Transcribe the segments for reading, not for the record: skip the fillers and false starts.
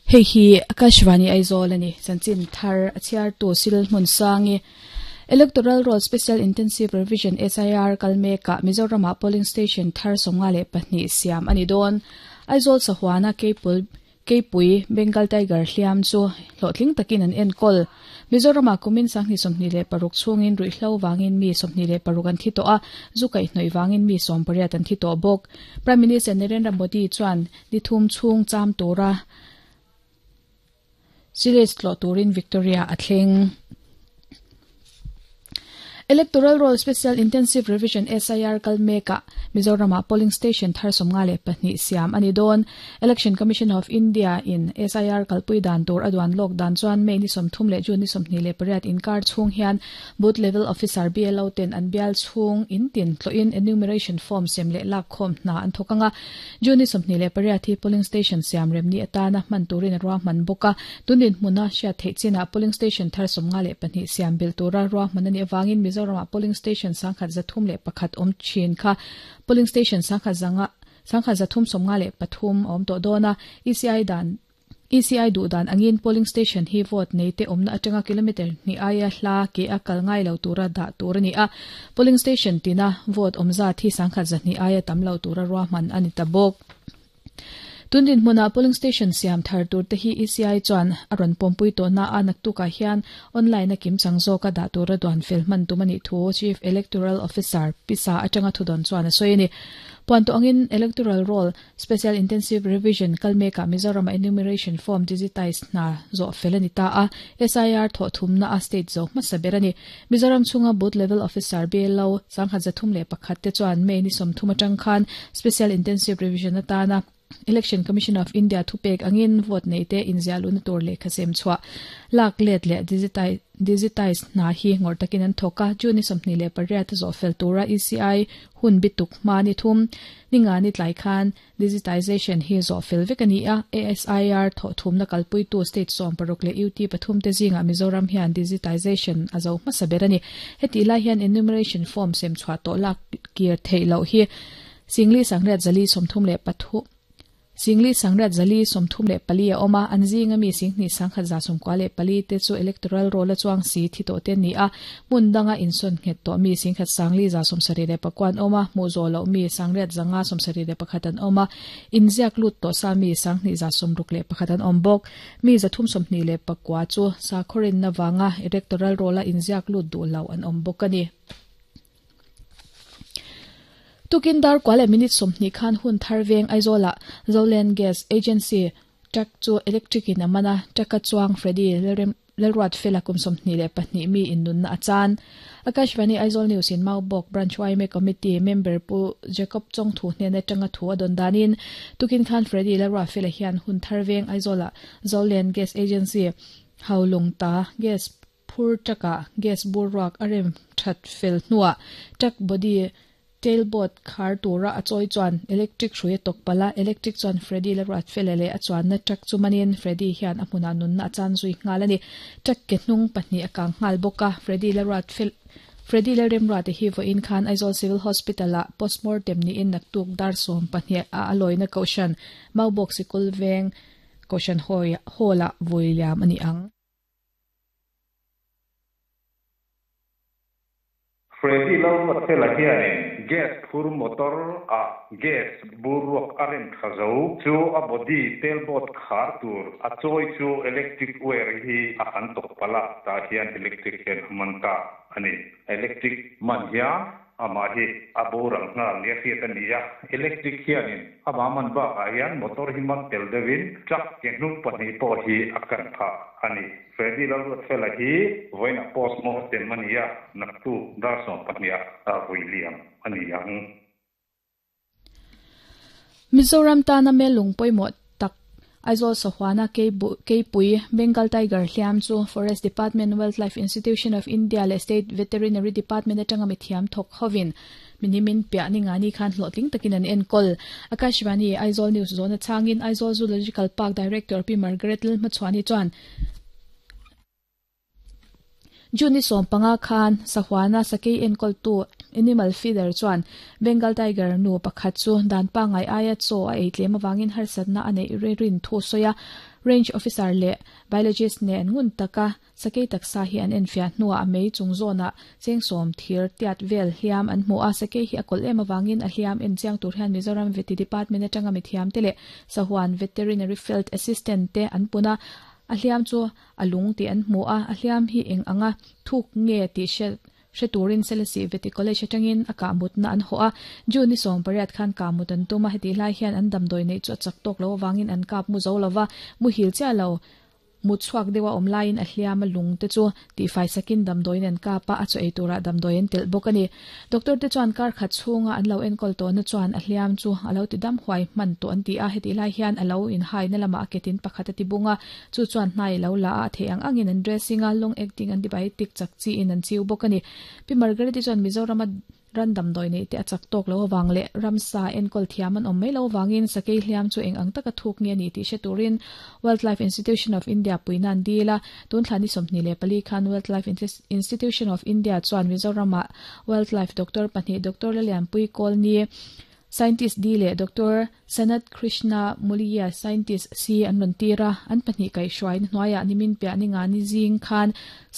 Hei hi Akashvani Aizawl a ni. Chanchin thar a chhiartu Sil Hmunsangi. Electoral Roll Special Intensive Revision, SIR, kal mekah Mizoramah polling station thar 52 siam a ni dawn. Aizawl sahuana Keipul Keipui, Bengal Tiger hliam chu hlawhtling takin an enkawl. Mizoramah kumin 2026 chhungin ruihhlo vangin mi 26 an thi tawh a, zu kaihhnawih vangin mi 18 an thi tawh bawk. Prime Minister Narendra Modi chuan ni thum chhung cham tura Series tlawh turin Victoria a thleng. Electoral Roll Special Intensive Revision, SIR, kal mekah Mizoramah polling station thar 52 siam a ni dawn. Election Commission of India in SIR kalpui dan tur a duan lawk dan chuan May ni 30 leh June ni 28 inkar chhung hian Booth Level Officer, BLO, ten an bial chhung in tin tlawhin enumeration form sem leh lak khawm hna an thawk ang a. June ni 28 hi polling station siam rem ni atana hman turin a ruahman bawk a. Tun dinhmuna hriat theih chinah polling station thar 52 siam belh tura ruahman a nih avangin Mizoramah polling station 1301 awm thin kha polling station sangkhat zanga 1353 a awm tawh dawn a. ECI dan ECI duh dan angin polling station hi vote nei te awmna atanga kilometre hnih aia hla ke a kal ngai lo tura dah tur a ni a. Polling station tina vote awm zat hi 1200 aia tam lo tura ruahman a ni ta bawk. Tun dinhmunah polling station siam thar tur te hi ECI chuan a rawn pawmpui tawh na a, naktukah hian online a kimchang zawka dah tura duan fel hman tum a nih thu Chief Electoral Officer Pisa atanga thudawn chuan a sawi a ni. Puan tawh angin Electoral Roll Special Intensive Revision kal mekah Mizoramah enumeration form digitize hna zawh fel a ni ta a, SIR thawh thumna a state zo hmasa ber a ni. Mizoram chhunga Booth Level Officer, BLO, 1301 te chuan May ni 30 atang khan Special Intensive Revision atana Election Commission of India thupek angin vote neite inziah luhna tur lehkha sem chhuah lak let leh digitize hna hi ngawrh takin an thawk a. June ni 28 a zawh fel tura ECI hun bituk hma ni thum Ninga ni tlai khan Digitization hi zawh fel vek a ni a, ASIR thawh thumna kalpuitu state 16 leh UT pathum te zingah Mizoram hian Digitization a zo hmasa ber a ni. Hetih lai hian enumeration form sem chhuah tawh lak kir theih loh hi Singli Sangriat Zali 33 Singli Sangriat Zali 34 a awm a, an zinga mi Singhnih Sangkhat 94 te chu electoral roll a chuang si thi tawh te an ni a, Hmun danga insawn nghet tawh mi 10 sangli 79 an awm a, hmuh zawh loh mi 900 5 71 an awm a, inziak lut tawh sa mi 2 61 an awm bawk. Mi 329 chu sakhaw rinna vanga electoral roll-a inziak lut duh lo an awm bawk a ni. Tukin dar kua leh minute 20 khan hun thar veng Aizawlah Zoland Gas Agency truck chu electric in a man a, truck-a chuang Freddy Lalrem Lalruatfela kum 22 mi in nunna a chan. Akashvani Aizawl News in Maubawk Branch yma Committee member Pu Jacob Chawngthu hnen atanga thu a dawn danin tukin khan Freddy Lalruatfela hian hun thar veng Aizawlah Zoland Gas Agency Haulawng ta gas phur truck ah gas bur ruak a rem that fel hnuah truck body Tailboard khar tura a chawi chuan electric hrui a tawk palh a, electric chuan Freddy la ruat fel leh a chuanna truck chu manin Freddy hian a hmunah nunna a chan zui nghal a ni. Truck ke hnung pahnih a kang nghal bawk a, Freddy la ruat fel Freddy Lalremruate hi vawiin khan Aizawl Civil Hospital ah postmortem niin naktuk dar 12 ah a lawina Kohhran Maubawk Sikul Veng Kohhran Hall ah vui liam a ni ang. Freddy Lalruatfela hianin gas phur motor ah gas bur ruak a rem tha zo chu a body tailboard khar tur a chawi chu electric wire hi a han tawk palh a, tah hian electric hian a man ta a ni. Electric man hian amah hi a boral nghal nia hriat a ni a, electric hianin amah man bakah hian motor hi man tel deuhin truck ke hnung pahnih pawh hi a kan phah a ni. Freddy Lalruatfela hi vawiinah post mortem a ni a, naktuk dar 12 ah vui liam a ni ang. Mizoram tana melung pawimawh tak Aizawl Sahuana Keipui, Bengal Tiger hliam chu Forest Department, Wildlife Institution of India leh State Veterinary Department atanga mithiam thawk hovin minimin piah ni ngani khan hlawhtling takin an enkawl. Akashvani Aizawl News zawhna changin Aizawl Zoological Park Director Pi Margaret Lalhmachhuani chuan, June ni 15 khan Sahuana sakei enkawltu Animal Feeder chuan Bengal Tiger nu pakhat chu dan pangngai aia chaw a ei tlem avangin harsatna a neih rin thu a sawi a. Range Officer leh Biologist nen ngun taka Sakei taksa hi an enfiah hnuah a mei chung zawnah chengsawm thir tiat vel hliam an hmu a, sakei hi a kawlh em avangin a hliam en chiang tur hian Mizoram Vety Department atanga mithiam te leh Sahuan Veterinary Field Assistant te an pun a, a hliam chu a lung tih an hmu a, a hliam hi eng anga thuk nge tih hriat hre turin Selesih Vety College atangin a kahmutna an hawh a, June ni 18 khan kahmut an tum a, hetih lai hian an damdawi neih chu a chak tawk lo avangin an kap mu zo lova, muhil chiah lo. Mut chhuak deuha awm laiin a hliam a lung te chu tihfai sakin damdawiin an kap a, a chaw ei turah damdawi an telh bawk a ni. Doctor te chuan kar khat chhunga an lo enkawl tawhna chuan a hliam chu a lo ti dam huai hman tawh an ti a, hetih lai hian a lo inhaina lamah a ketin pakhat a ti bung a, chu chuan hnai a lo la a, a theih ang angin an dressing a, long acting antibiotic chak chiin an chiu bawk a ni. Pi Margaret-i chuan Mizorama Ran damdawi neih te a chak tawk lo avang leh ramsa enkawl thiam an awm mai lo avangin sakei hliam chu eng ang taka thuk nge a nih tih hre turin Wildlife Institution of India puihna an dil a. Tun thla ni 24 khan Wildlife Institution of India chuan Mizoramah Wildlife Doctor pahnih Doctor Lalianpui Kawlni, Scientist D leh Doctor Sanat Krishna Muliya, Scientist C an rawn tir a, an pahnih kaihhruaina hnuaiah nimin piah ni nga ni zing khan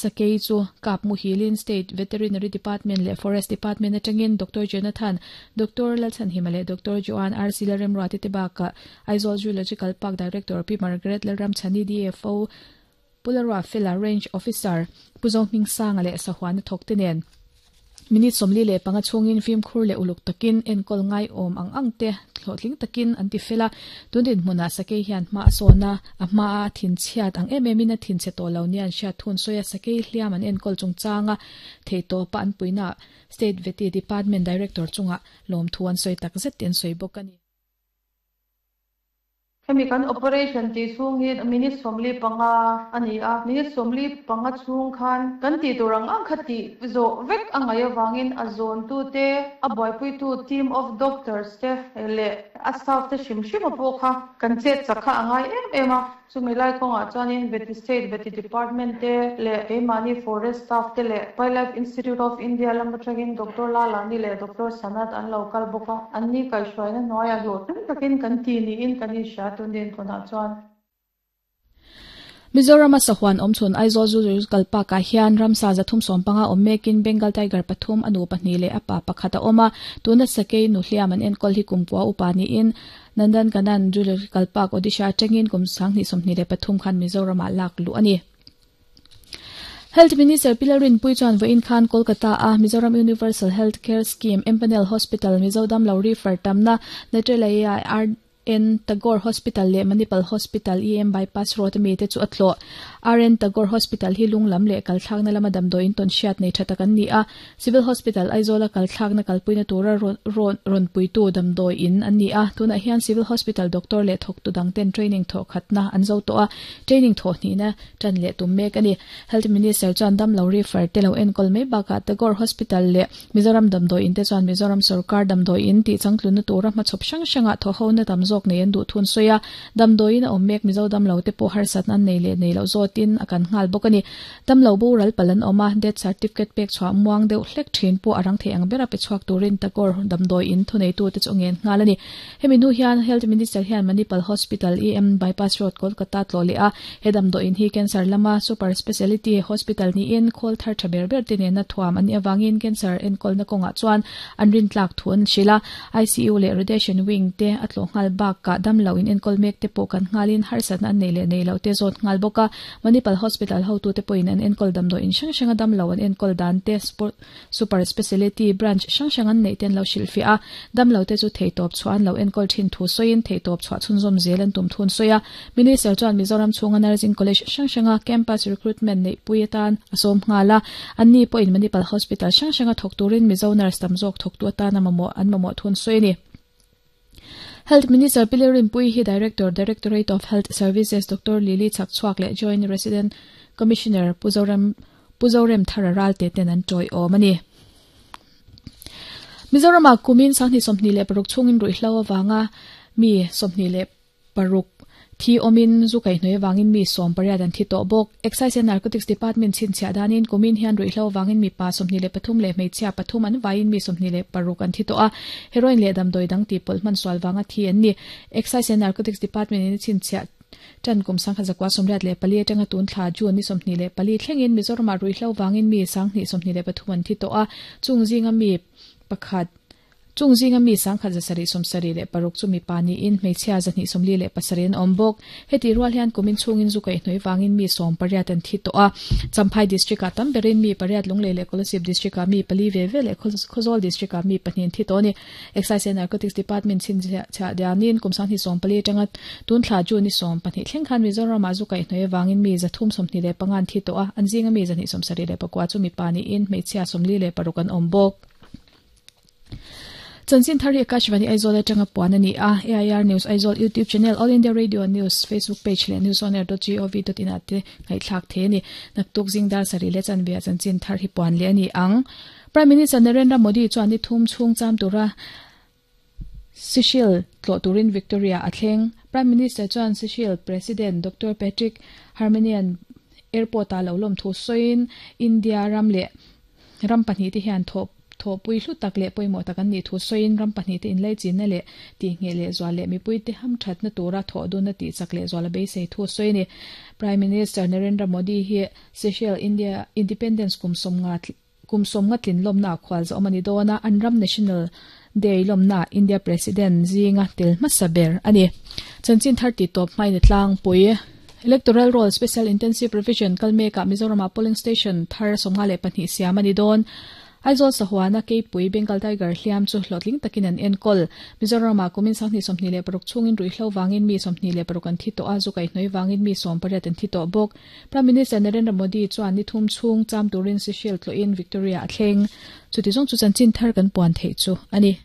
sakei chu kap muhilin State Veterinary Department leh Forest Department atangin Doctor Jonathan, Doctor Lalchhanhima leh Doctor Joan RC Lalremruati te bakah Aizawl Zoological Park Director Pi Margaret Lalramchhani DFO Pularua Fela Range Officer Pu Zohmingsanga leh Sahuana thawkte nen minute 45 chhungin fimkhur leh uluk takin enkawl ngaiawm ang ang te hlawhtling takin an ti fel a. Tun dinhmunah sakei hian hma a sawn a, a hmaa thinchhiat ang em emin a thinchhe tawh lo nia an hriat thun sawi a, sakei hliam an enkawl chungchanga theihtawpa an puihnaah State Vety Department Director chungah lawmthu an sawi takzet tih an sawi bawk a ni. Hemi kan operation tih chhung hi minute 45 a ni a, minute 45 chhung khan kan tih tur ang ang kha tih zawh vek a ngaih avangin a zawntute, a buaipuitu team of doctors te leh a staff te hrim hrim a pawh kha kan chet chak kha a ngai em em a. Chumi lai kawngah chuanin Vety State Vety Department te leh keimahni Forest Staff te leh Wildlife Institute of India lam atangin Doctor Lalani leh Doctor Sanat an lo kal bawk a, anni kaihhruaina hnuaiah hlawhtling takin kan ti niin kan inhria tun dinhmunah chuan. Mizorama sahuan awmchhun Aizawl Zoological Park-ah hian ramsa 315 awm mekin Bengal Tiger pathum, a nu pahnih leh a pa pakhat a awm a, tuna sakei nu hliam an enkawl hi kumkua upa niin Nandankanan Zoological Park, Odisha atangin kum 2023 khan Mizoramah lak luh a ni. Health Minister Pi Lalrinpuii chuan vawiin khan Kolkata-a Mizoram Universal Health Care Scheme, Empanel Hospital, Mizo damlo refer tamna, Netralaya RN Tagore Hospital leh Manipal Hospital EM Bypass Road ami te chu a tlawh. RN Tagore Hospital hi lung lam leh kalthlakna lama damdawiin tawn hriat nei tha tak an ni a. Civil Hospital Aizawla kalthlakna kalpuina tura rawn puitu damdawi in an ni a, tunah hian Civil Hospital doctor leh thawktu dangten training thawh khatna an zo tawh a, training thawh hnihna tan leh tum mek a ni. Health Minister chuan damlo refer te lo enkawl mai bakah Tagore Hospital leh Mizoram damdawi in te chuan Mizoram sawrkar damdawi in tih changtlunna tura hmachhawp hrang hrangah thawhhona tam zawk nei an duh thun sawi a, damdawi in a awm mek Mizo damlo te pawh harsatna an nei leh nei loh zawtin a kan nghal bawk a ni. Damlo boral palh an awm a, death certificate pek chhuah muang deuh hlek thin pawh a rang thei ang bera pe chhuak turin Tagore damdawi in thuneitute chu a ngen nghal a ni. Hemi hnu hian Health Minister hian Manipal Hospital, EM Bypass Road, Kolkata tlawh leh a, he damdawi in hi cancer lama super speciality hospital niin khawl thar tha ber ber te nena thuam an nih avangin cancer enkawlna kawngah chuan an rintlak thu an hrilh a. ICU leh Radiation Wing te a tlawh nghal bakah damlo in enkawl mek te pawh kan nghalin harsatna an nei leh nei loh te zawt nghal bawk a. Manipal Hospital hotute pawhin an enkawl damdawi in hrang hranga damlo an enkawl dan te Super Speciality Branch hrang hrang an neih te an lo hrilhfiah a, damlo te chu theihtawp chhuah an lo enkawl thin thu sawiin theihtawp chhuah chhunzawm zel an tum thun sawi a. Minister chuan Mizoram chhunga Nursing College hrang hranga Campus Recruitment neihpui atan a sawm nghal a, anni pawhin Manipal Hospital hrang hranga thawk turin Mizo nurse tam zawk thawktu atana mamawh an mamawh thun sawi a ni. Health Minister Pi Lalrinpuii hi Director, Directorate of Health Services Doctor Lily Chhakchhuak leh Joint Resident Commissioner Pu Zoram Pu Zorem Thara Ralte ten an tawiawm a ni. Mizoramah kumin 2026 chhungin ruihhlo avanga mi 26. Paruk thi awmin zu kaihhnawih avangin mi 18 an thi tawh bawk. Excise and Narcotics Department chhinchhiah danin kumin hian ruihhlo avangin mipa 23 leh hmeichhia pathum an vaiin mi 26 an thi tawh a, heroin leh damdawi dang tihpawlh hman sual vanga thi an ni. Excise and Narcotics Department in a chhinchhiah tan kum 1984 atanga tun thla June ni 24 thlengin Mizoramah ruihhlo vangin mi 2023 an thi tawh a, chung zinga mi pakhat Chung zinga mi 1776 chu mipa niin hmeichhia 247 an awm bawk. Heti rual hian kumin chhungin zu kaihhnawih vangin mi 18 an thi tawh a. Champhai District-ah tam berin mi pariat Lunglei leh Kolasib District-ah mi pali ve ve leh Khawzawl District-ah mi pahnih an thi tawh a ni. Excise and Narcotics Department chhinchhiah dianin kum 2014 atanga tun thla June ni 12 thleng khan Mizoramah zu kaihhnawih avangin mi 325 an thi tawh a, an zinga mi 274 chu mipa niin hmeichhia 46 an awm bawk. Chanchin thar hi Akashvani Aizawl atanga puan a ni a, AIR News Aizawl YouTube channel, All India Radio News Facebook page leh newsonair.gov.in ah te ngaihthlak thei a ni. Naktuk zing dar sarih leh chanve ah chanchin thar hi puan leh a ni ang. Prime Minister Narendra Modi chuan ni thum chhung cham tura Seychelles tlawh turin Victoria a thleng. Prime Minister chuan Seychelles President Doctor Patrick Herminian airport ah lo lawm thu sawiin India ram leh Ram pahnihte hian thawh thawhpui hlu tak leh pawimawh tak an nih thu sawiin ram pahnihte inlaichinna leh tihngheh lehzual leh mipuite hamthatna tura thawh dunna tihchak lehzual a beisei thu a sawi a ni. Prime Minister Narendra Modi hi Seychelles India Independence kum sawmnga kum sawmnga tlin lawmna ah khual zawm a ni dawn a, an ram National Day lawmna ah India President zinga tel hmasa ber a ni. Chanchin thar tih tawp hmain a tlangpui. Electoral Roll Special Intensive Revision kal mekah Mizoramah Polling Station thar 52 siam a ni dawn. Aizawl Sahuana Keipui Bengal Tiger hliam chu hlawhtling takin an enkawl. Mizoramah kumin 2026 chhungin ruihhlo vangin mi 26 an thi tawh a, zu kaihhnawih vangin mi 18 an thi tawh bawk. Prime Minister Narendra Modi chuan ni thum chhung cham turin Seychelles tlawhin Victoria a thleng. Chuti zawng chu chanchin thar kan puan theih chu a ni.